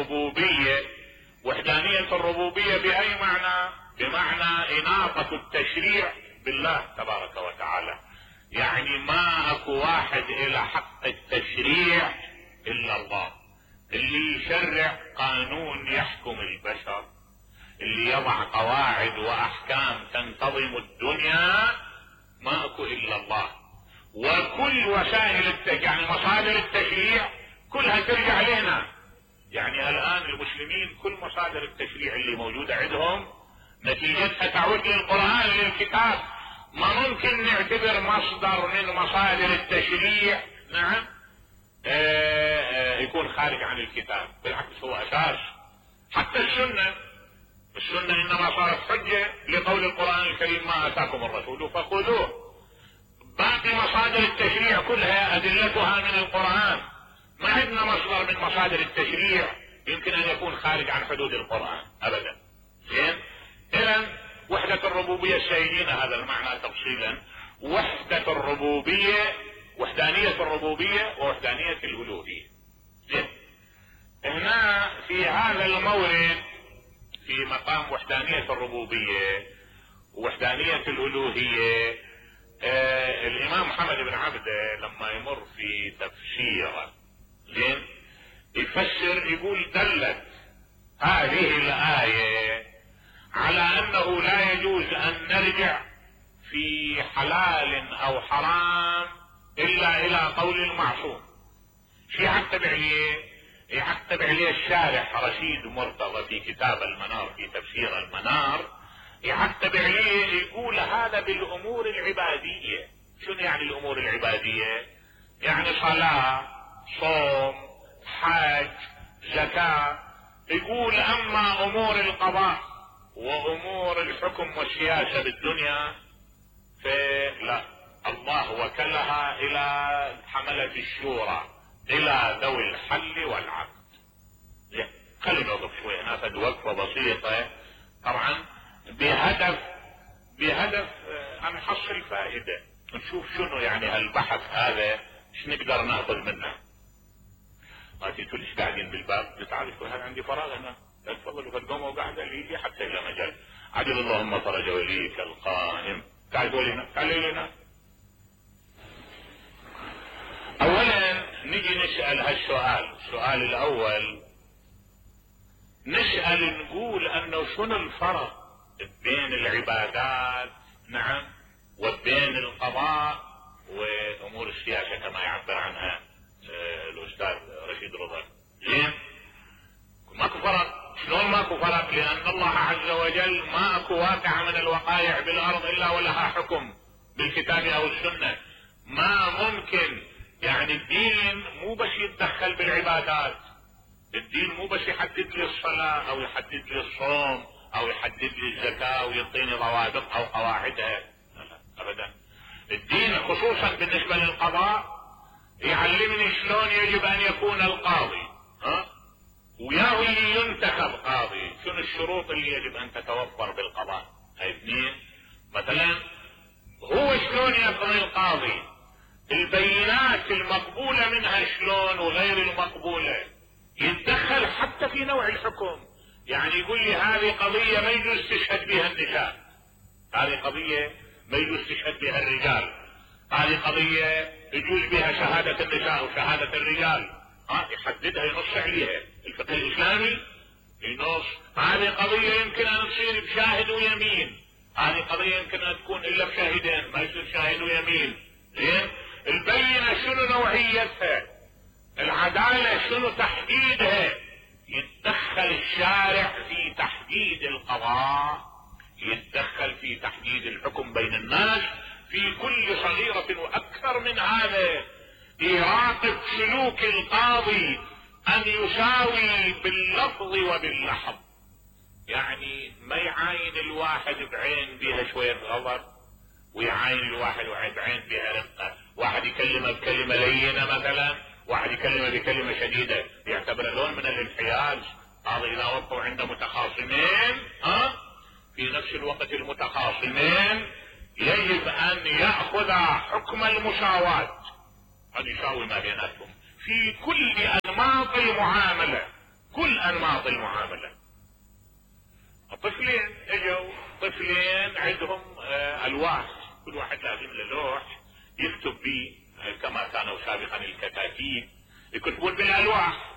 الربوبية. وحدانية الربوبية بأي معنى؟ بمعنى إناقة التشريع بالله تبارك وتعالى. يعني ما اكو واحد الى حق التشريع الا الله، اللي يشرع قانون يحكم البشر، اللي يضع قواعد واحكام تنتظم الدنيا، ما اكو الا الله. وكل وسائل يعني مصادر التشريع كلها ترجع لنا. يعني الان المسلمين كل مصادر التشريع اللي موجودة عندهم نتيجتها تعود للقرآن للكتاب. ما ممكن نعتبر مصدر من مصادر التشريع نعم يكون خارج عن الكتاب، بالعكس هو اساس. حتى السنة انما صارت حجة لقول القرآن الكريم ما اتاكم الرسول فخذوه. باقي مصادر التشريع كلها ادلتها من القرآن، ما عندنا مصدر من مصادر التشريع يمكن ان يكون خارج عن حدود القرآن ابدا. زين، اذا وحدة الربوبية سيجينا هذا المعنى تفصيلا. وحدة الربوبية، وحدانية الربوبية ووحدانية الألوهية. زين، هنا في هذا المورد في مقام وحدانية الربوبية ووحدانية الألوهية، الإمام محمد بن عبده لما يمر في تفسيره زين يفسر يقول دلت هذه الآية على انه لا يجوز ان نرجع في حلال او حرام الا الى قول المعصوم. شو يعتبر عليه؟ يعتبر عليه الشارح رشيد مرتضى في كتاب المنار في تفسير المنار، يعتبر عليه يقول هذا بالامور العبادية. شنو يعني الامور العبادية؟ يعني صلاة، صوم، حج، زكاة. يقول اما امور القضاء وامور الحكم والسياسة بالدنيا فلا، الله وكلها الى حملة الشورى، الى ذوي الحل والعقد. خلينا نوقف شوي ناخذ وقفة بسيطة طبعا بهدف ان نحصل فائدة، نشوف شنو يعني هالبحث هذا ايش نقدر ناخذ منه. ما تقول ايش قاعدين بالباب؟ تعال شوي هذا عندي فراغ هنا، تفضلوا فالقوموا وقاعد لي حتى الى مجال. عجل اللهم فرج وليك القائم. تعالوا لنا، تعالوا لنا. اولا نجي نسأل هالسؤال. السؤال الاول نسأل نقول انه شنو الفرق بين العبادات نعم وبين القضاء وامور السياسة كما يعبر عنها الاستاذ رشيد رضا. زين، ماكو فرق. شلون ماكو فرق؟ لان الله عز وجل ما اكو واقع من الوقائع بالارض الا ولها حكم بالكتاب او السنة. ما ممكن يعني الدين مو بس يتدخل بالعبادات، الدين مو بس يحدد لي الصلاة او يحدد لي الصوم او يحدد لي الزكاة ويعطيني ضوابط او قواعدها، لا ابدا. الدين خصوصا بالنسبة للقضاء يعلمني شلون يجب ان يكون القاضي، وياه اللي ينتخب قاضي، شنو الشروط اللي يجب ان تتوفر بالقضاء. هاي اثنين. مثلا هو شلون يقضي القاضي، البينات المقبولة منها شلون وغير المقبولة، يتدخل حتى في نوع الحكم. يعني يقول لي هذه قضية ما يجوز تشهد بها النساء، هذه قضية ما يجوز تشهد بها الرجال، هذه قضية يجوز بها شهادة النساء وشهادة الرجال، يحددها ينص عليها. الفقه الاسلامي ينص هذه قضية يمكن ان تصير بشاهد ويمين، هذه قضية يمكن ان تكون الا بشاهدين، ما يصير شاهد ويمين. زين، البينة شنو نوعيتها، العدالة شنو تحديدها. يتدخل الشارع في تحديد القضاء، يتدخل في تحديد الحكم بين الناس في كل صغيرة واكثر من هذا. يراقب سلوك القاضي ان يساوي باللفظ وباللحظ، يعني ما يعاين الواحد بعين بها شوية غضب ويعاين الواحد بعين بها رقة. واحد يكلمه بكلمة لينة مثلا، واحد يكلمه بكلمة شديدة، يعتبر لون من الانحياز. هذا اذا وقعوا عند متخاصمين في نفس الوقت المتخاصمين يجب ان يأخذ حكم المساواة، ان يساوي ما بيناتهم في كل انماط المعاملة. كل انماط المعاملة. الطفلين اجوا طفلين عندهم الواح، كل واحد لازم له لوح يكتب به كما كانوا سابقا الكتاتيب يكتبون بالالواح.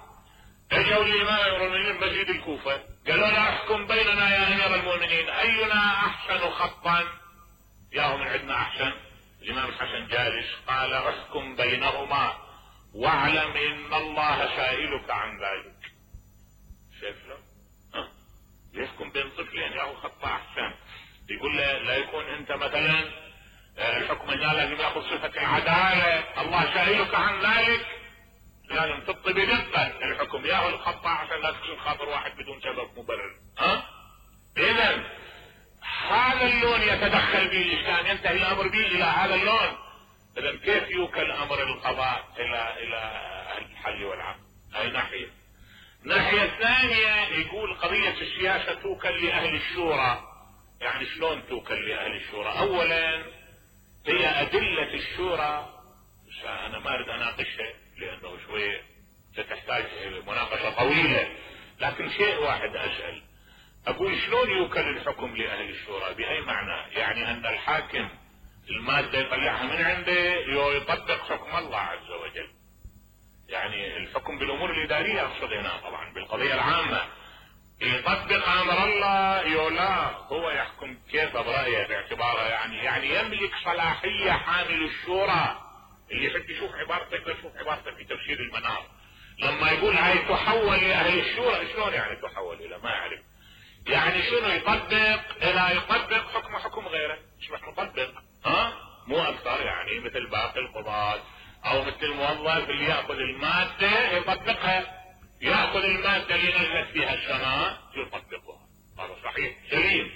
اجوا الامام المؤمنين مسجد الكوفة قالوا له احكم بيننا يا امير المؤمنين اينا احسن خطا، ياهم من عندنا احسن. الامام الحسن جالس قال احكم بينهما واعلم ان الله سائلك عن ذلك. شايف له؟ يحكم بين طفلين ياهو خطا احسن. يقول له لا يكون انت مثلا الحكم هنا لازم ياخذ صفة العدالة، الله سائلك عن ذلك، لازم تطي بدقة الحكم ياهو الخطا عشان لا تكسر خاطر واحد بدون سبب مبرر. اذا هذا اللون يتدخل به الاسلام، ينتهي الامر به الى هذا اللون. اذا كيف يوكل امر القضاء الى الحل والعقد؟ هاي ناحية. الناحية الثانية يقول قضية السياسة توكل لأهل الشورى. يعني شلون توكل لأهل الشورى؟ أولا هي أدلة الشورى، أنا ما أريد أناقشها لأنه شوية ستحتاج مناقشة طويلة، لكن شيء واحد أسأل، أقول شلون يوكل الحكم لأهل الشورى؟ بأي معنى؟ يعني أن الحاكم المادة يطلعها من عنده يطبق حكم الله عز وجل، يعني الحكم بالامور الادارية اقصد هنا طبعا بالقضية العامة، يطبق امر الله لا هو يحكم كيف برأيه باعتباره يعني يملك صلاحية حامل الشورى. اللي يحب يشوف عبارته يقدر يشوف عبارته في تفسير المنار لما يقول هاي تحول لاهل الشورى. شلون يعني تحول الى؟ ما اعرف يعني شنو يطبق؟ لا يطبق حكم غيره، يصبح مطبق مو اكثر، يعني مثل باقي القضاة او مثل الموظف اللي ياخذ المادة يطبقها، ياخذ المادة اللي نزلت فيها السماء يطبقها، هذا صحيح سليم.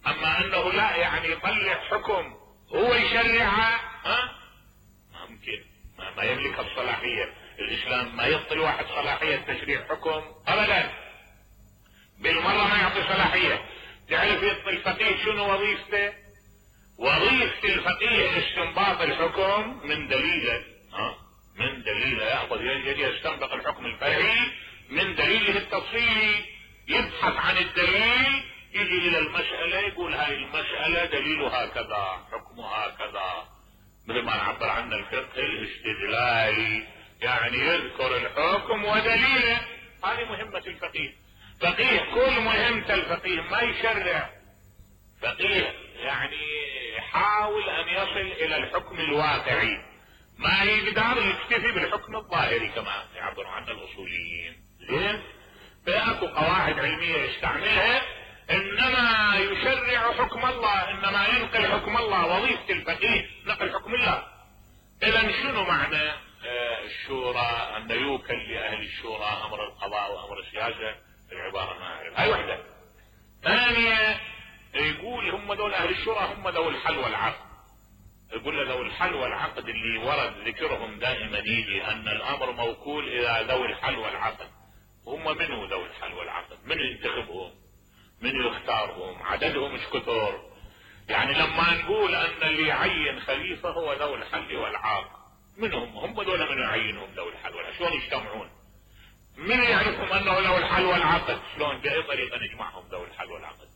اما انه لا يعني يطلع حكم هو يشرعها ما ممكن، ما يملك الصلاحية. الاسلام ما يعطي الواحد صلاحية تشريع حكم ابدا، بالمرة ما يعطي صلاحية. تعرف يعطي الفقيه شنو وظيفته؟ وظيفة الفقيه استنباط الحكم من دليله، من دليله يأخذ يستنبط الحكم الفرعي من دليله التفصيلي، يبحث عن الدليل، يجي الى المسألة يقول هاي المسألة دليلها كذا حكمها كذا، مثل ما نعبر عنه الفقه الاستدلالي، يعني يذكر الحكم ودليله. هذه مهمة الفقيه. فقيه كل مهمة الفقيه ما يشرع، فقيه يعني يحاول ان يصل الى الحكم الواقعي، ما يقدر يكتفي بالحكم الظاهري كما يعبر عنه الاصوليين. زين؟ فاكو قواعد علمية يستعملها، انما يشرع حكم الله، انما ينقل حكم الله. وظيفة الفقيه نقل حكم الله. اذا شنو معنى الشورى؟ ان يوكل لاهل الشورى امر القضاء وامر السياسة. العبارة ما اعرف. هاي وحدة. ثانية يقول هم دول اهل الشورى هم ذوي الحل والعقد. يقول له ذوي الحل والعقد اللي ورد ذكرهم دائما يجي ان الامر موكول الى ذوي الحل والعقد. هم منو ذوي الحل والعقد؟ من ينتخبهم؟ من يختارهم؟ عددهم مش كثر. يعني لما نقول ان اللي يعين خليفة هو ذوي الحل والعقد، منهم هم دول من يعينهم ذوي الحل والعقد؟ شلون يجتمعون؟ من يعرفهم انه ذوي الحل والعقد؟ شلون باي طريقة نجمعهم ذوي الحل والعقد؟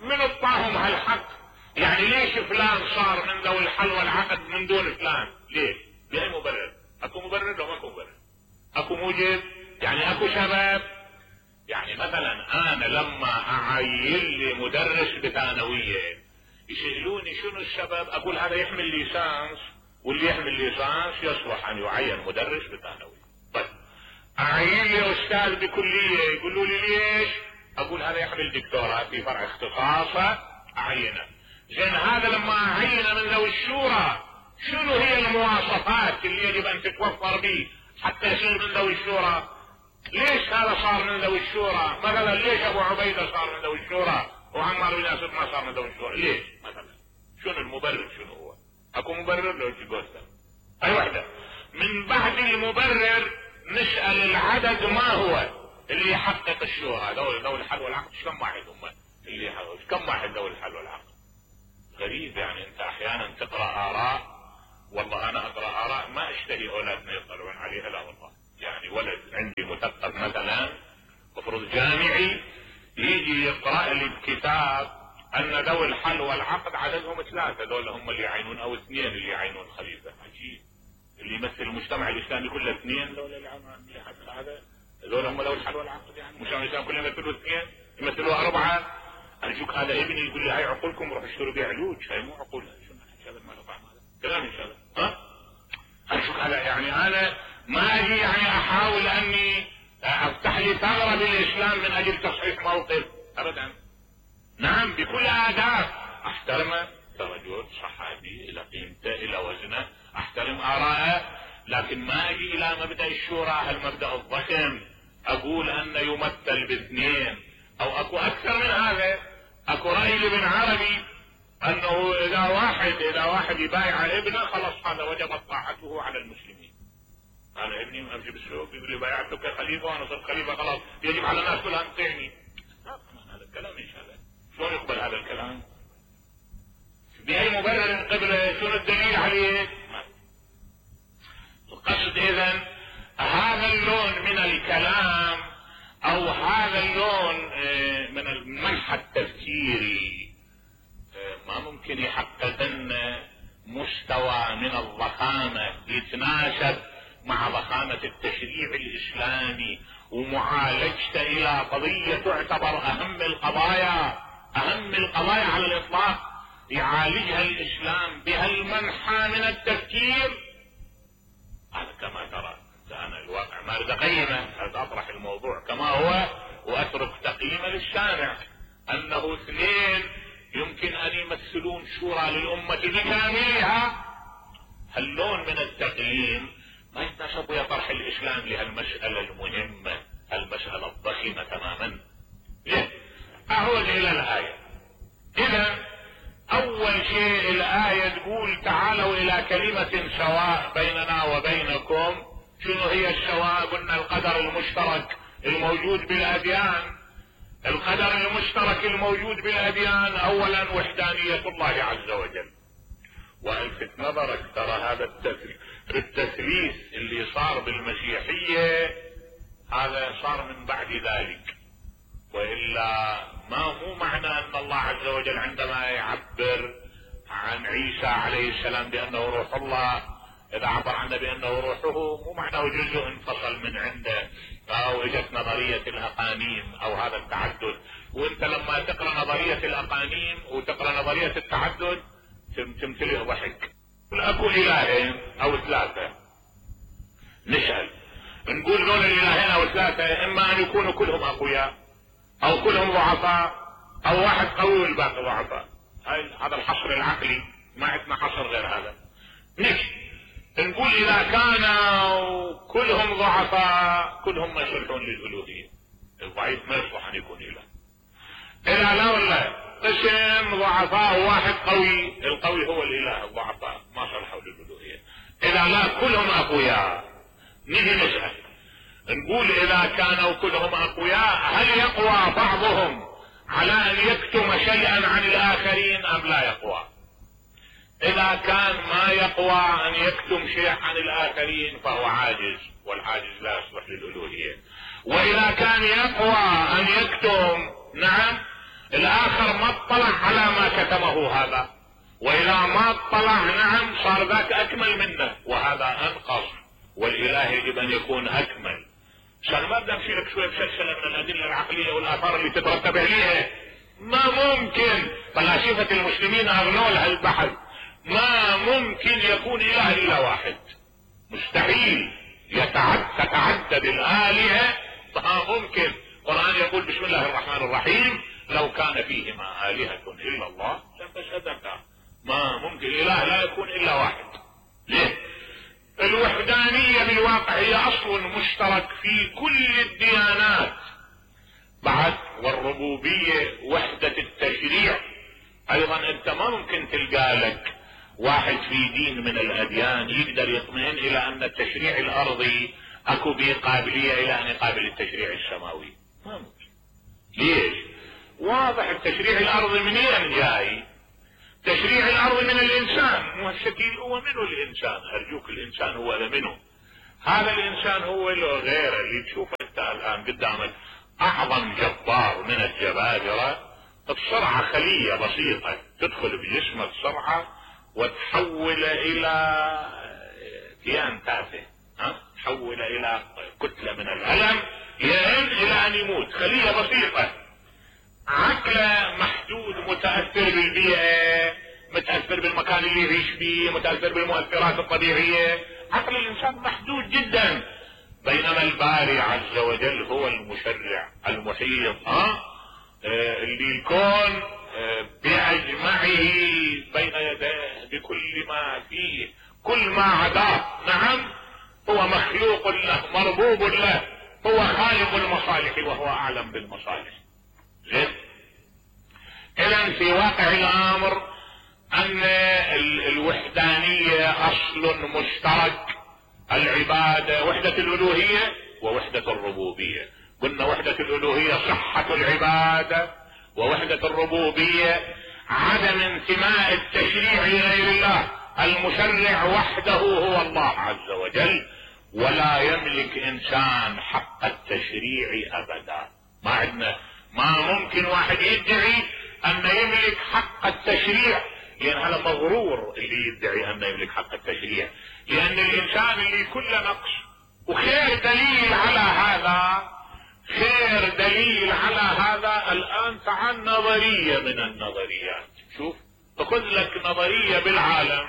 من اعطاهم هالحق؟ يعني ليش فلان صار من ذوي الحل والعقد من دون فلان؟ ليه؟ باي مبرر؟ اكو مبرر لو ماكو مبرر؟ اكو موجب؟ يعني اكو سبب؟ يعني مثلا انا لما اعين لي مدرس بثانوية يسألوني شنو السبب، اقول هذا يحمل ليسانس، واللي يحمل ليسانس يصلح ان يعين مدرس بثانوية. طيب اعين لي استاذ بكلية يقولوا لي ليش؟ اقول هذا يحمل دكتوراه في فرع اختصاصه اعينه. زين هذا لما اعين من ذوي الشورى شنو هي المواصفات اللي يجب ان تتوفر به حتى يصير من ذوي الشورى؟ ليش هذا صار من ذوي الشورى؟ مثلا ليش ابو عبيدة صار من ذوي الشورى وعمار بن ياسر ما صار من ذوي الشورى؟ ليش مثلا؟ شنو المبرر؟ شنو هو؟ اكو مبرر لو تقولها؟ اي وحده. من بعد المبرر نسأل العدد ما هو اللي يحقق الشورى؟ ذوي الحل والعقد كم واحد هم اللي يحقق؟ كم واحد ذوي الحل والعقد؟ غريب. يعني انت احيانا تقرأ اراء، والله انا اقرأ اراء ما اشتهي اولادنا يطلعون عليها، لا والله. يعني ولد عندي مثقف مثلا مفروض جاي لي بكتاب ان ذوي الحل والعقد عددهم 3، ذول هم اللي يعينون، او 2 اللي يعينون خليفة. عجيب، اللي يمثل المجتمع الاسلامي كله 2 ذول اللي هذا، ذول هم ذوي الحل والعقد. يعني المجتمع الاسلامي كله يمثلوا 2، يمثلوا 4. ارجوك هذا ابني يقول لي هاي عقولكم، روح اشتروا بيع علوج، هاي مو عقول. شو هذا ما له طعم هذا كلام ان شاء الله. ها ارجوك هذا يعني انا ما اجي يعني احاول اني افتح لي ثغرة بالاسلام من اجل تصحيح موقف ابدا. نعم بكل اداب احترمه كرجل صحابي الى قيمته الى وزنه، احترم اراءه، لكن ما اجي الى مبدأ الشورى، هالمبدأ الضخم، اقول ان يمثل ب2 او اكو اكثر من هذا. اكو رأي لابن عربي انه اذا واحد يبايع ابنه خلاص هذا وجبت طاعته على المسلمين. انا ابني امشي بالسوق يقول لي بايعته كخليفه وانا صرت خليفه خلاص يجب على الناس كلها ان تطيعني. هذا الكلام ان شاء الله شلون يقبل هذا الكلام؟ باي مبرر قبل؟ شنو الدليل عليه؟ القصد اذا هذا اللون من الكلام او هذا اللون من المنحى التفكيري ما ممكن يحقق لنا مستوى من الضخامة يتناسب مع ضخامة التشريع الاسلامي ومعالجته الى قضية تعتبر اهم القضايا على الاطلاق، يعالجها الاسلام بهالمنحى من التفكير. هذا كما ترى انا الواقع ما اريد اقيمه، اريد اطرح الموضوع كما هو واترك تقييمه للسامع، انه 2 يمكن ان يمثلون شورى للامة بكاملها. هاللون من التقييم ما يتناسب ويا طرح الاسلام لهالمسألة المهمة، المسألة الضخمة تماما. اعود الى الآية. اذا اول شيء الآية تقول تعالوا الى كلمة سواء بيننا وبينكم. شنو هي السواء؟ قلنا القدر المشترك الموجود بالاديان. القدر المشترك الموجود بالاديان اولا وحدانية الله عز وجل. والفت نظرك ترى هذا التثليث اللي صار بالمسيحية هذا صار من بعد ذلك، والا مو معنى ان الله عز وجل عندما يعبر عن عيسى عليه السلام بانه روح الله، اذا عبر عنه بانه روحه مو معناه جزء انفصل من عنده او اجت نظرية الاقانيم او هذا التعدد. وانت لما تقرأ نظرية الاقانيم وتقرأ نظرية التعدد تمتلئ ضحك. اكو الهين او 3، نسأل نقول دول الالهين او 3 اما ان يكونوا كلهم اقوياء او كلهم ضعفاء او واحد قوي والباقي ضعفاء. هذا الحصر العقلي، ما عندنا حصر غير هذا. نقول اذا كانوا كلهم ضعفاء كلهم ما يصلحون للالوهية. الضعيف ما يصلح ان يكون اله. اذا لا والله قسم ضعفاء وواحد قوي، القوي هو الاله، الضعفاء ما صلحوا للالوهية. اذا لا كلهم اقوياء نيجي نسأل نقول اذا كانوا كلهم اقوياء هل يقوى بعضهم على ان يكتم شيئا عن الاخرين ام لا يقوى؟ اذا كان ما يقوى ان يكتم شيء عن الاخرين فهو عاجز، والعاجز لا يصلح للالوهية. واذا كان يقوى ان يكتم، نعم الاخر ما اطلع على ما كتمه هذا، واذا ما اطلع نعم صار ذاك اكمل منه وهذا انقص، والاله يجب ان يكون اكمل. عشان ما بدنا نمشي لك شوية بسلسلة من الادلة العقلية والاثار اللي تترتب عليها. ما ممكن فلاسفة المسلمين اغنوا لها البحث، ما ممكن يكون اله الا واحد، مستحيل تتعدد الالهة، ما ممكن. القرآن يقول بسم الله الرحمن الرحيم لو كان فيهما آلهة الا الله لفسدتا. ما ممكن اله لا يكون الا واحد. ليه؟ الوحدانية بالواقع هي اصل مشترك في كل الديانات بعد، والربوبية وحدة التشريع ايضا. انت ما ممكن تلقى لك واحد في دين من الاديان يقدر يطمئن الى ان التشريع الارضي اكو به قابلية الى ان يقابل التشريع السماوي. ما ممكن. ليش؟ واضح التشريع الارضي منين جاي؟ تشريع الارض من الانسان، مو الشكل هو منه الانسان. ارجوك الانسان هو منه، هذا الانسان هو له غيره. اللي تشوفه انت الان قدامك اعظم جبار من الجبابرة السرعة خلية بسيطة تدخل بجسمك سرعة وتحول الى كيان تافه، تحول الى كتلة من الألم لين الى ان يموت. خلية بسيطة، عقله محدود، متأثر بالبيئة، متأثر بالمكان اللي يعيش فيه، متأثر بالمؤثرات الطبيعية. عقل الانسان محدود جدا، بينما الباري عز وجل هو المشرع المحيط، اللي الكون بأجمعه بين يديه بكل ما فيه، كل ما عداه. نعم، هو مخلوق له، مربوب له، هو خالق المصالح وهو اعلم بالمصالح. زين، اذا في واقع الامر ان الوحدانية اصل مشترك. العبادة وحدة الالوهية ووحدة الربوبية. قلنا وحدة الالوهية صحة العبادة، ووحدة الربوبية عدم انتماء التشريع لغير الله. المشرع وحده هو الله عز وجل، ولا يملك انسان حق التشريع ابدا. ما ممكن واحد يدعي ان يملك حق التشريع، لان هذا مغرور اللي يدعي ان يملك حق التشريع، لان الانسان اللي كله نقص. وخير دليل على هذا، خير دليل على هذا الان تعال نظرية من النظريات. شوف، خذ لك نظرية بالعالم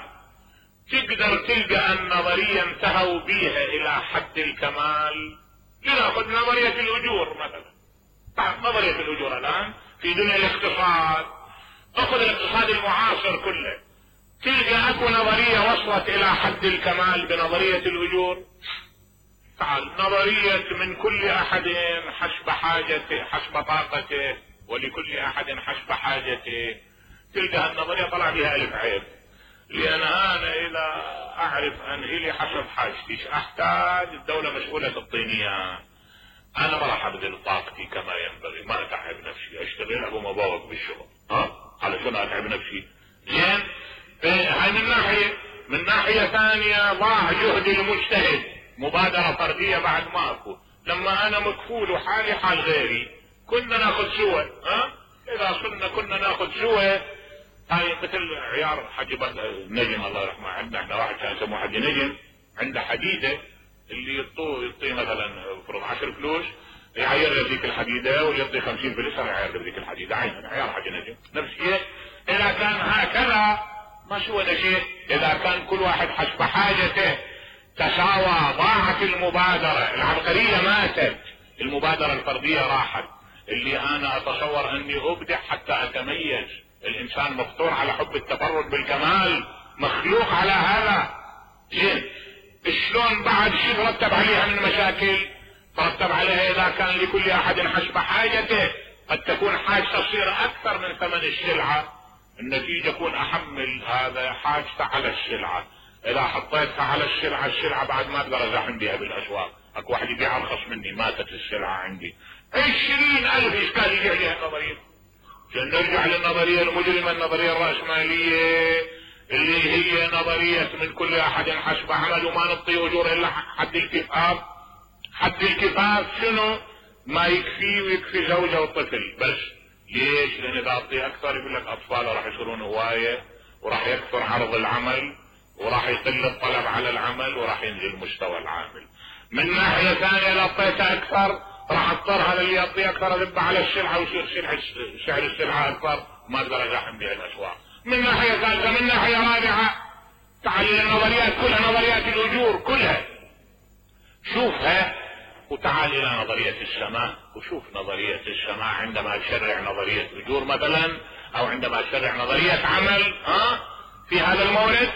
تقدر تلقى النظرية انتهوا بيها الى حد الكمال. لنأخذ نظرية الاجور مثلا. نظرية الاجور الان في دنيا الاقتصاد، اخذ الاقتصاد المعاصر كله، تلقى اكو نظرية وصلت الى حد الكمال بنظرية الاجور. تعال، نظرية من كل احد حسب حاجته، حسب طاقته، ولكل احد حسب حاجته. تلقى النظرية طلع بها الف عيب، لان انا اذا اعرف ان الي حسب حاجتي احتاج، الدولة مسؤولة تعطيني، انا ما راح ابذل طاقتي كما ينبغي، ما اتعب نفسي، اشتغل ابو مبوق بالشغل، على شنو اتعب نفسي؟ زين، هاي من ناحية. من ناحية ثانية ضاع جهد المجتهد، مبادرة فردية بعد ما اكو. لما انا مكفول وحالي حال غيري كنا ناخذ سوا، اذا صرنا كنا ناخذ سوا. هاي مثل عيار حج نجم الله يرحمه. عندنا واحد كان يسموه حج نجم، عنده حديدة اللي يعطيه مثلا فرض 10 فلوس يعير ذيك الحديدة، واللي يعطيه 50 فلوس يعير ذيك الحديدة. عين عيار حج نجم نفس الشيء. اذا كان هكذا ما سوى شيء. اذا كان كل واحد حسب حاجته تساوى، ضاعت المبادرة العبقرية، ماتت المبادرة الفردية، راحت. اللي انا اتصور اني ابدع حتى اتميز. الانسان مفطور على حب التفرد بالكمال، مخلوق على هذا. زين، شلون بعد شو ترتب عليها من مشاكل؟ ترتب عليها اذا كان لكل احد حسب حاجته، قد تكون حاجته تصير اكثر من ثمن السلعة، النتيجة يكون احمل هذا حاجته على السلعة. اذا حطيتها على السلعة، السلعة بعد ما اقدر ازاحم بها بالاسواق، اكو واحد يبيع ارخص مني، ماتت السلعة عندي. 20,000 اشكال يجي عليها نظرية. نرجع للنظرية المجرمة، النظرية الرأسمالية اللي هي نظرية من كل احد حسب عمل، وما نعطي اجور الا حد الكفاف. حد الكفاف شنو؟ ما يكفي، ويكفي زوجة وطفل بس. ليش؟ لان اذا اعطي اكثر يقول لك اطفال راح يصيرون هواية، وراح يكثر عرض العمل، وراح يقل الطلب على العمل، وراح ينزل مستوى العامل. من ناحية ثانية اذا اعطيته اكثر راح اضطر هذا اللي يعطي اكثر اذب على السلعة، ويصير سعر السلعة اكثر، ما اقدر ازاحم بها الاسواق. من ناحية ثالثة. من ناحية رابعة، تعال النظريات كلها، نظريات الاجور كلها شوفها، وتعال الى نظرية السماء وشوف نظرية السماء عندما تشرع نظرية اجور مثلا، او عندما تشرع نظرية عمل في هذا المورد،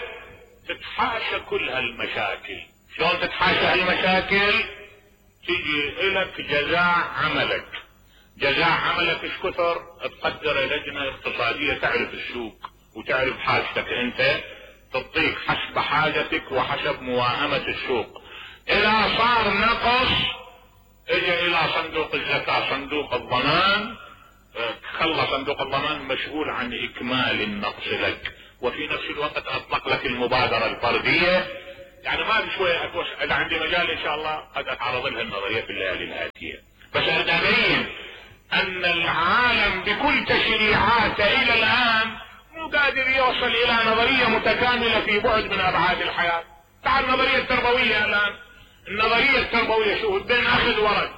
تتحاشى كل هالمشاكل. شلون تتحاشى هالمشاكل؟ تيجي الك جزاء عملك. جزاء عملك ايش كثر؟ تقدر لجنة اقتصادية تعرف السوق وتعرف حاجتك انت، تعطيك حسب حاجتك وحسب موائمة السوق. اذا صار نقص اجي الى صندوق الزكاة، صندوق الضمان، خلى صندوق الضمان مسؤول عن اكمال النقص لك، وفي نفس الوقت اطلق لك المبادرة الفردية. يعني ما بشوية اكوش، اذا عندي مجال ان شاء الله قد اتعرض لها النظرية في الليالي الاتية، بس اريد ابين ان العالم العالم بكل تشريعاته الى الان مو قادر يوصل الى نظرية متكاملة في بعد من ابعاد الحياة. تعال النظرية التربوية الان، النظرية التربوية شوف بين اخذ ورد.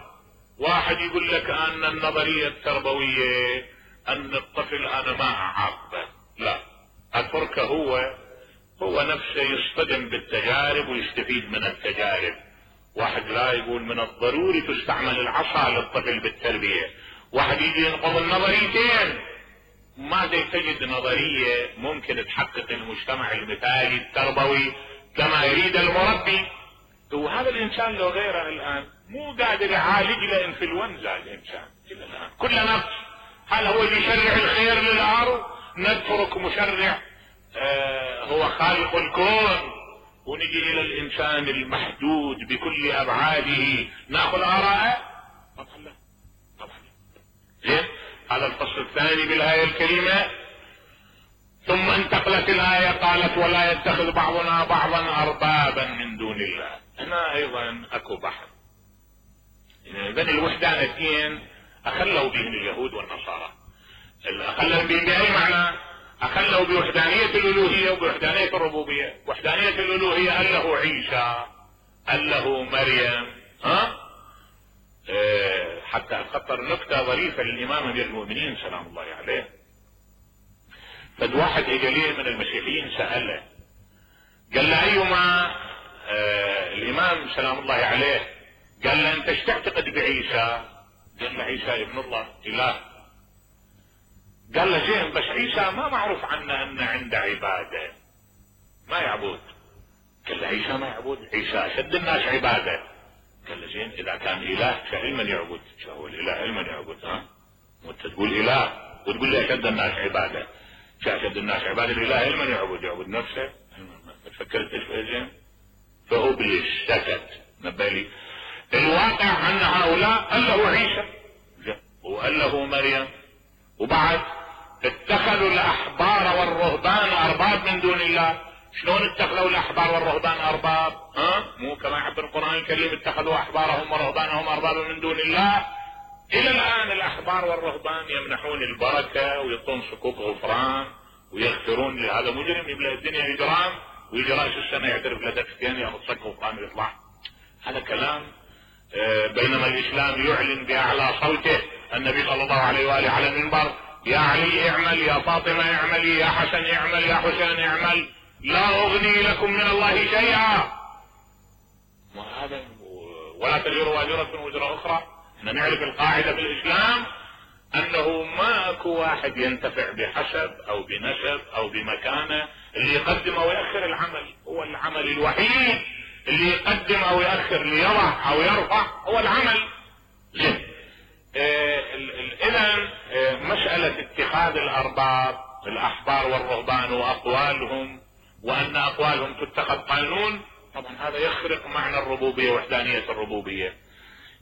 واحد يقول لك ان النظرية التربوية ان الطفل انا ما اعاقبه، لا، اتركه هو نفسه يصطدم بالتجارب ويستفيد من التجارب. واحد لا يقول من الضروري تستعمل العصا للطفل بالتربية. واحد يجي ينقض النظريتين. ماذا تجد نظرية ممكن تحقق المجتمع المثالي التربوي كما يريد المربي؟ وهذا الانسان لو غيره الان مو قادر يعالج له انفلونزا الانسان الى الان. كل نفس هل هو اللي يشرع الخير للارض؟ نترك مشرع هو خالق الكون ونجي الى الانسان المحدود بكل ابعاده ناخذ اراءه؟ طبعا لا، طبعا زين. هذا الفصل الثاني بالايه الكريمه. ثم انتقلت الايه قالت ولا يتخذ بعضنا بعضا اربابا من دون الله. هنا ايضا اكو بحث. اذا الوحدانيتين اخلوا بهم اليهود والنصارى. اخلوا بهم باي معنى؟ اخلوا بوحدانية الالوهية وبوحدانية الربوبية. وحدانية الالوهية قال له عيسى، قال له مريم، حتى اتخطر نكتة ظريفة للامام امير المؤمنين سلام الله عليه. فد واحد اجى ليه من المسيحيين سأله، قال له ايما الامام سلام الله عليه قال له انت ايش تعتقد بعيسى؟ قال له عيسى ابن الله اله. قال له زين بس عيسى ما معروف عنه ان عنده عبادة، ما يعبد. قال له عيسى ما يعبد، عيسى اشد الناس عبادة. قال له زين اذا كان اله فعلما يعبد، شو هو الاله علما يعبد؟ وانت تقول اله وتقول لي اشد الناس عبادة، شو اشد الناس عبادة؟ الاله علما يعبد نفسه. ما تفكرت ايش زين؟ فابليس سكت نبه لي. الواقع ان هؤلاء قال له عيسى وقال له مريم، وبعد اتخذوا الاحبار والرهبان ارباب من دون الله. شلون اتخذوا الاحبار والرهبان ارباب؟ مو كما يعبر القرآن الكريم اتخذوا احبارهم ورهبانهم اربابا من دون الله. الى الان الاحبار والرهبان يمنحون البركة ويعطون صكوك غفران ويغفرون لهذا مجرم يملأ الدنيا اجرام ويجي راس السنة يعترف لدفتين ياخذ صك غفران ويطلع. هذا كلام. بينما الاسلام يعلن باعلى صوته، النبي صلى الله عليه واله على المنبر يا علي اعمل، يا فاطمة اعملي، يا حسن اعمل، يا حسين اعمل، لا اغني لكم من الله شيئا. وهذا ولا تزر وازرة وزر اخرى. احنا نعرف القاعدة في الاسلام انه ماكو واحد ينتفع بحسب او بنسب او بمكانة. اللي يقدم او يأخر العمل هو العمل الوحيد. اللي يقدم او يأخر ليضع او يرفع هو العمل. زين. اذا مسألة اتخاذ الارباب الاحبار والرهبان واقوالهم وان اقوالهم تتخذ قانون، طبعا هذا يخرق معنى الربوبية ووحدانية الربوبية.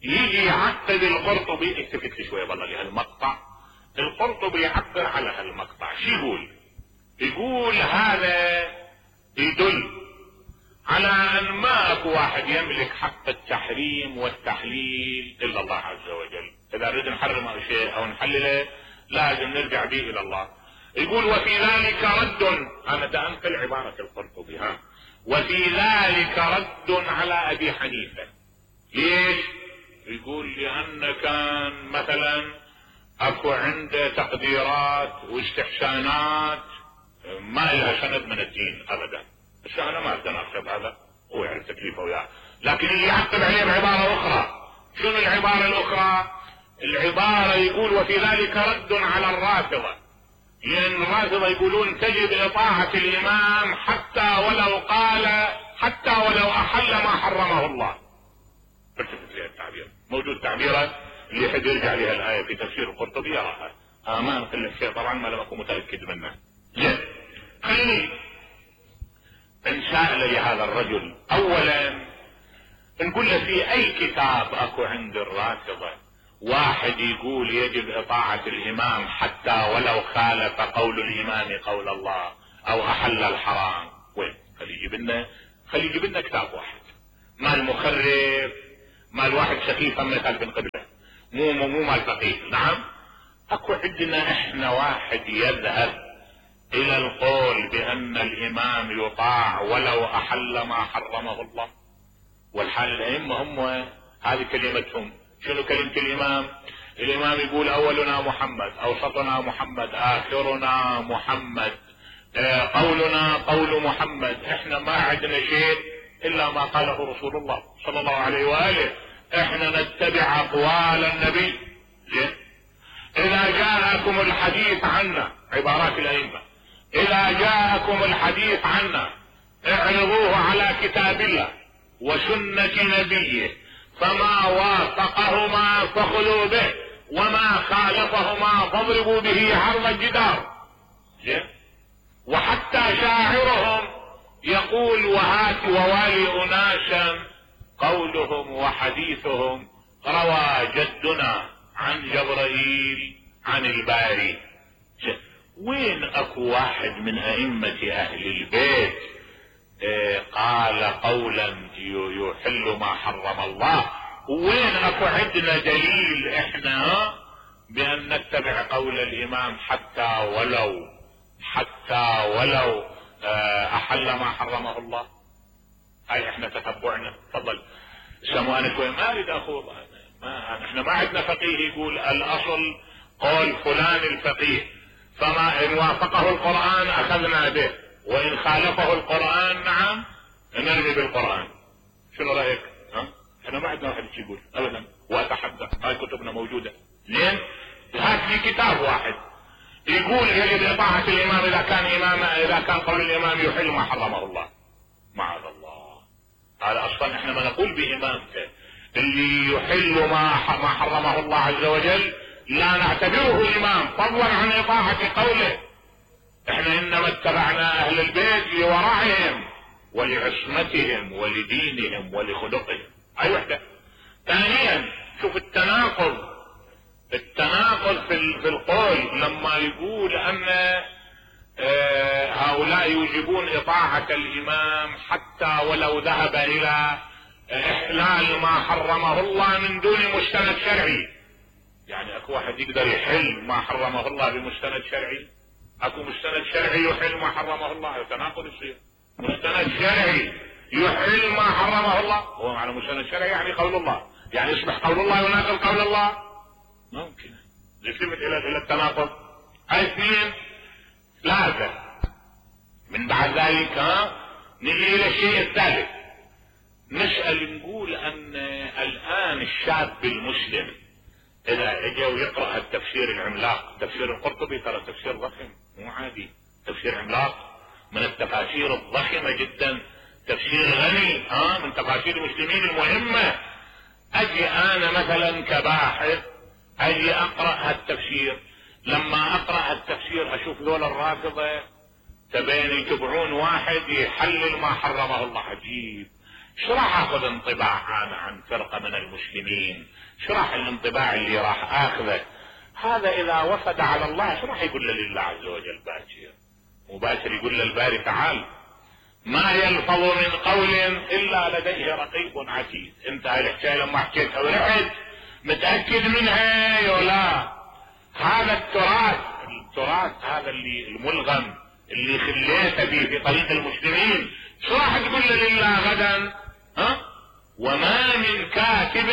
يجي يعقد القرطبي، التفت لي شوية والله لهالمقطع. القرطبي يعبر على هالمقطع شو يقول؟ يقول هذا يدل على ان ما اكو واحد يملك حق التحريم والتحليل الا الله عز وجل. اذا نريد نحرم او شيء او نحلله لازم نرجع به الى الله. يقول وفي ذلك رد، انا تأمل عبارة القرطبي، وفي ذلك رد على ابي حنيفة. ليش؟ يقول لان كان مثلا اكو عنده تقديرات واستحسانات ما لها سند من الدين ابدا. بس انا ما اقدر اكتب هذا، هو يعرف تكليفه وياه، لكن اللي يعقب عليه بعبارة اخرى. شنو العبارة الاخرى؟ العبارة يقول وفي ذلك رد على الرافضة، لان الرافضة يقولون تجب اطاعة الامام حتى ولو قال، حتى ولو احل ما حرمه الله. فلسفة لها التعبير، موجود تعبيرات اللي يحب يرجع لها الاية في تفسير القرطبي يراها. ما نقول لك شيء طبعا ما لم اكن متأكد منه. زين. خليني نسأل لهذا الرجل اولا نقول له في اي كتاب اكو عند الرافضة واحد يقول يجب اطاعة الامام حتى ولو خالف قول الامام قول الله او احل الحرام؟ وين؟ خلي يجيب لنا كتاب واحد. مال مخرب، مال واحد سخيف من خلف قبله، مو مال فقيه. نعم اكو عندنا احنا واحد يذهب الى القول بان الامام يطاع ولو احل ما حرمه الله؟ والحال الائمة هم هذه كلمتهم. شنو كلمة الامام؟ الامام يقول اولنا محمد، اوسطنا محمد، اخرنا محمد، قولنا قول محمد. احنا ما عندنا شيء الا ما قاله رسول الله صلى الله عليه واله. احنا نتبع اقوال النبي. زين؟ اذا جاءكم الحديث عنا، عبارات الائمة، اذا جاءكم الحديث عنا اعرضوه على كتاب الله وسنة نبيه، فما وافقهما فخذوا به وما خالفهما فاضربوا به عرض الجدار. زين؟ وحتى شاعرهم يقول وهات ووالي اناسا قولهم وحديثهم روى جدنا عن جبرائيل عن الباري. وين اكو واحد من ائمة اهل البيت قال قولا يحل ما حرم الله؟ وين اكو عندنا دليل احنا بان نتبع قول الامام حتى ولو احل ما حرمه الله؟ هاي احنا تتبعنا. تفضل سمو انا شوي ما اريد اخوض. احنا ما عندنا فقيه يقول الاصل قول فلان الفقيه، فما ان وافقه القرآن اخذنا به وان خالفه القرآن نعم نرمي بالقرآن. شنو رايك؟ احنا ما عندنا واحد يقول ابدا، واتحدى هاي كتبنا موجودة. لين هات لي كتاب واحد يقول يجب اطاعة الامام اذا كان قول الامام يحل ما حرمه الله. معاذ الله. هذا اصلا احنا ما نقول بامامته. اللي يحل ما حرمه الله عز وجل لا نعتبره امام فضلا عن اطاعة قوله. احنا انما اتبعنا اهل البيت لورعهم ولعصمتهم ولدينهم ولخلقهم. هاي وحدة. ثانيا شوف التناقض في القول لما يقول ان هؤلاء يوجبون اطاعة الامام حتى ولو ذهب الى احلال ما حرمه الله من دون مستند شرعي. يعني اكو واحد يقدر يحل ما حرمه الله بمستند شرعي؟ اكو مستند شرعي يحل ما حرمه الله؟ تناقض يصير. مستند شرعي يحل ما حرمه الله، هو معنى مستند شرعي يعني قول الله، يعني يصبح قول الله يناقض قول الله؟ ممكن يلتفت الى التناقض. هاي اثنين. ثلاثة من بعد ذلك نجي الى الشيء الثالث. نسأل نقول ان الان الشاب المسلم اذا اجى ويقرأ التفسير العملاق، تفسير القرطبي ترى تفسير ضخم مو عادي، تفسير عملاق من التفاسير الضخمة جدا، تفسير غني من تفاسير المسلمين المهمة. اجي انا مثلا كباحث اجي اقرأ التفسير، لما اقرأ التفسير اشوف ذول الرافضة تبين يتبعون واحد يحلل ما حرمه الله. عجيب. شو راح اخذ انطباع انا عن فرقة من المسلمين؟ شو راح الانطباع اللي راح اخذه؟ هذا اذا وفد على الله شو راح يقول لله عز وجل باكر؟ مباشر يقول للباري تعال ما يلفظ من قول الا لديه رقيب عتيد. انت هاي الحكايه لما حكيتها ورحت متاكد منها ولا؟ هذا التراث هذا اللي الملغم اللي خليته به في طريق المسلمين، شو راح تقول لله غدا؟ وما من كاتب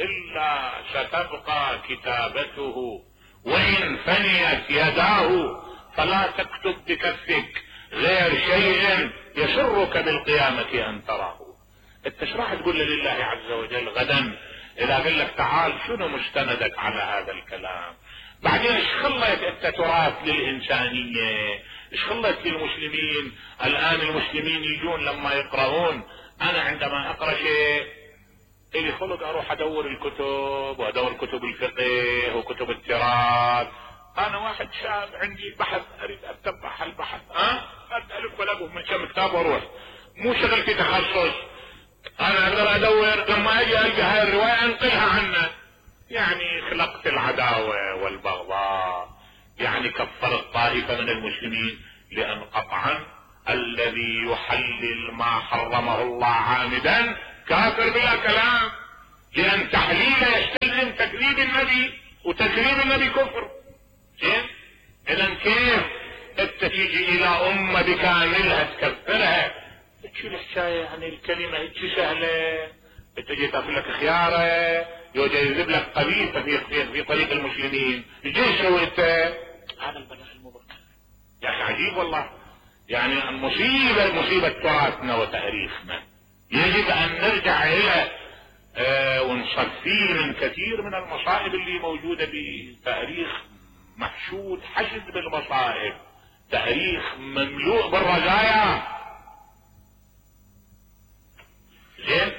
الا ستبقى كتابته وان فنيت يداه فلا تكتب بكفك غير شيء يسرك بالقيامة ان تراه. انت شو راح تقول لله عز وجل غدا اذا قال لك تعال شنو مستندك على هذا الكلام؟ بعدين ايش خليت انت تراث للانسانية؟ ايش خليت للمسلمين؟ الان المسلمين يجون لما يقرؤون، انا عندما اقرأ شيء الي خلق اروح ادور الكتب وادور كتب الفقه وكتب التراث. انا واحد شاب عندي بحث اريد اتبع البحث الف ولا من كم كتاب واروح، مو شغلتي تخصص. انا اقدر ادور لما اجي القى هاي الرواية انقلها عنه. يعني خلقت العداوة والبغضاء، يعني كفرت طائفة من المسلمين، لان قطعا الذي يحلل ما حرمه الله عامدا كافر بلا كلام، لان تحليله يستلزم تكذيب النبي وتكريم النبي كفر. زين؟ اذا كيف انت تيجي الى امة بكاملها تكفرها؟ شو الحكاية؟ يعني الكلمة هيك سهلة، انت جيت تاكل لك خيارة، يجذب لك قبيلة في طريق المسلمين، ايش سويت؟ هذا البلاغ المبكر. يا اخي عجيب والله. يعني مصيبة تراثنا وتاريخنا يجب ان نرجع الى ونصفيه من كثير من المصائب اللي موجودة بتاريخ محشود حشد بالمصائب، تاريخ مملوء بالرزايا. زين؟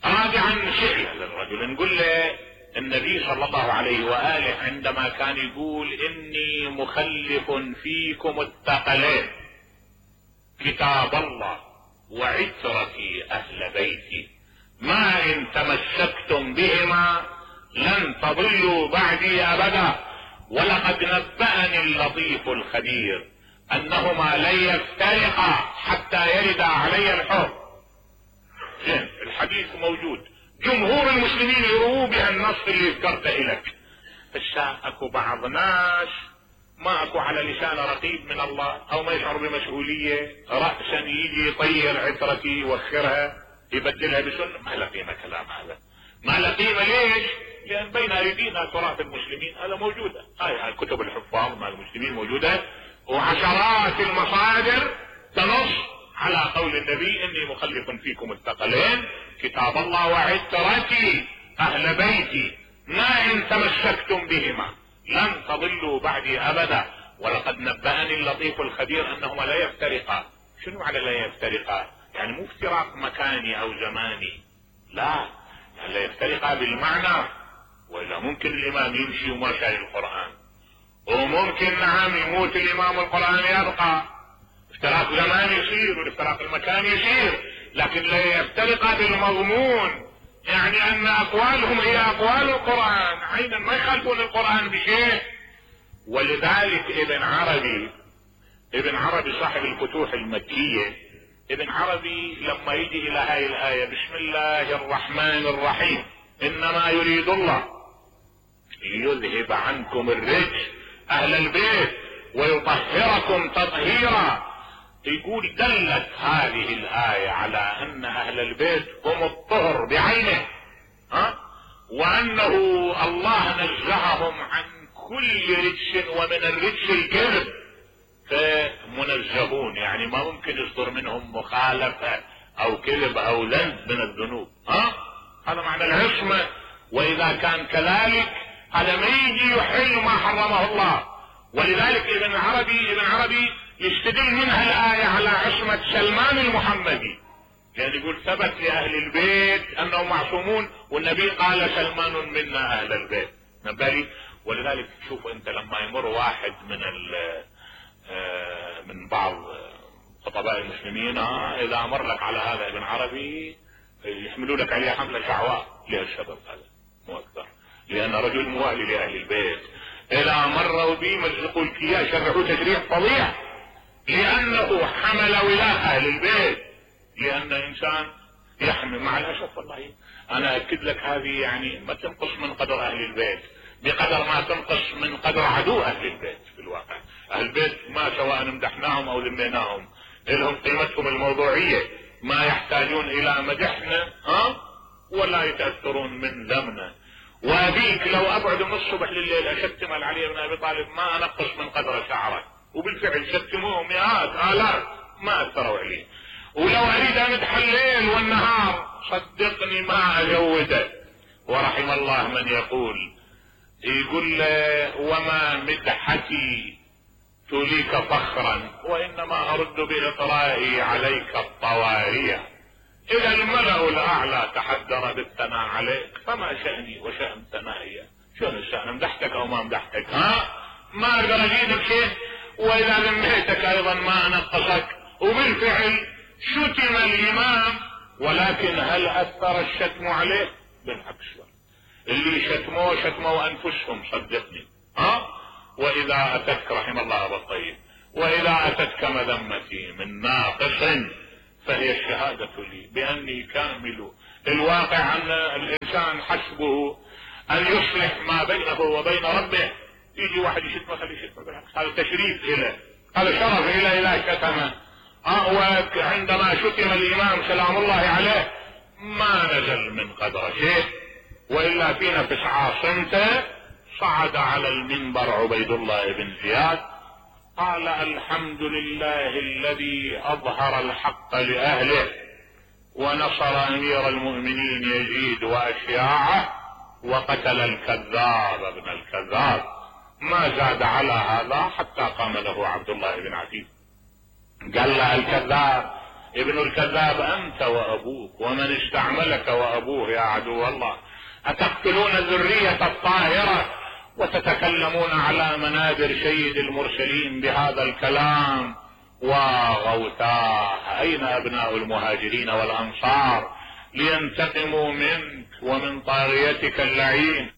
رابعا سئل للرجل، نقول له النبي صلى الله عليه وآله عندما كان يقول اني مخلف فيكم الثقلين كتاب الله وعترتي اهل بيتي ما ان تمسكتم بهما لن تضلوا بعدي ابدا ولقد نبأني اللطيف الخبير انهما لن يفترقا حتى يرد علي الحوض. زين؟ الحديث موجود، جمهور المسلمين يرووا بها النص اللي ذكرته لك. هسه اكو بعض ناس ما اكو على لسان رقيب من الله او ما يشعر بمسؤولية، رأسا يجي يطير عترتي يوخرها يبدلها بسنة. ما له قيمة كلام هذا، ما له قيمة. ليش؟ لان بين ايدينا تراث المسلمين هذا موجودة، هاي كتب الحفاظ مع المسلمين موجودة، وعشرات المصادر تنص على قول النبي اني مخلف فيكم الثقلين كتاب الله وعترتي اهل بيتي ما ان تمسكتم بهما لن تضلوا بعدي ابدا ولقد نبأني اللطيف الخبير انهما لا يفترقا. شنو معنى لا يفترقا؟ يعني مو افتراق مكاني او زماني، لا، يعني لا يفترقا بالمعنى. والا ممكن الامام يمشي وما شايل القرآن، وممكن نعم يموت الامام القرآن يبقى، افتراق زمان يصير والافتراق المكان يصير، لكن لا يفترقا بالمضمون، يعني ان اقوالهم هي اقوال القرآن عينا، ما يخالفون القرآن بشيء. ولذلك ابن عربي صاحب الفتوح المكية، ابن عربي لما يجي الى هاي الآية بسم الله الرحمن الرحيم انما يريد الله ليذهب عنكم الرجس اهل البيت ويطهركم تطهيرا، يقول دلت هذه الآية على ان اهل البيت هم الطهر بعينه، وانه الله نزههم عن كل رجس، ومن الرجس الكذب، فمنزهون، يعني ما ممكن يصدر منهم مخالفة او كذب او ذنب من الذنوب. هذا معنى العصمة. واذا كان كذلك هذا ما يجي يحل ما حرمه الله. ولذلك ابن عربي يستدل منها الآية على عصمة سلمان المحمدي، يعني يقول ثبت لأهل البيت أنهم معصومون، والنبي قال سلمان منا أهل البيت. نبالي. ولذلك تشوف أنت لما يمر واحد من بعض خطباء المسلمين، إذا أمر لك على هذا ابن عربي يحملوا لك عليه حملة شعواء لهالسبب هذا، مو أكثر، لأن رجل موالي لأهل البيت. إذا مروا به مزقوا الكياس شرعوا تشريع فظيع، لأنه حمل ولاء أهل البيت، لأن إنسان يحمل. مع الأسف والله أنا أكد لك هذه يعني ما تنقص من قدر أهل البيت بقدر ما تنقص من قدر عدو أهل البيت. في الواقع أهل البيت ما سواء امدحناهم أو ذميناهم لهم قيمتهم الموضوعية، ما يحتاجون إلى مدحنا ولا يتأثرون من ذمنا. وأبيك لو أبعد من الصبح لليل أشتم علي بن أبي طالب ما أنقص من قدر شعره، وبالفعل شتموه مئات آلاف ما أثروا عليه. ولو أريد أن أمدح الليل والنهار صدقني ما أجوده. ورحم الله من يقول وما مدحتي تليك فخرا وإنما أرد بإطرائي عليك الطوارية. إذا الملأ الأعلى تحدر بالثناء عليك فما شأني وشأن ثنائي. شنو الشأن؟ مدحتك أو ما مدحتك؟ ما أقدر أجيدك شيء. وإذا ذميتك أيضا ما أنقصك. وبالفعل شتم الإمام، ولكن هل أثر الشتم عليه؟ بالعكس، اللي شتموا أنفسهم صدقني. وإذا أتتك رحم الله أبا الطيب، وإذا أتتك مذمتي من ناقص فهي الشهادة لي بأني كامل. الواقع أن الإنسان حسبه ان يصلح ما بينه وبين ربه. يجي واحد يشتمه خليه يشتمه بالعكس، هذا تشريف له، هذا شرف له لا شتمه. وعندما شتم الامام سلام الله عليه ما نزل من قدر شيء، والا في نفس عاصمته صعد على المنبر عبيد الله بن زياد قال الحمد لله الذي اظهر الحق لاهله ونصر امير المؤمنين يزيد واشياعه وقتل الكذاب ابن الكذاب. ما زاد على هذا حتى قام له عبد الله بن عتيق قال له الكذاب ابن الكذاب انت وابوك ومن استعملك وابوه يا عدو الله، اتقتلون الذرية الطاهرة وتتكلمون على منابر سيد المرسلين بهذا الكلام؟ وغوتاه اين ابناء المهاجرين والانصار لينتقموا منك ومن طاغيتك اللعين؟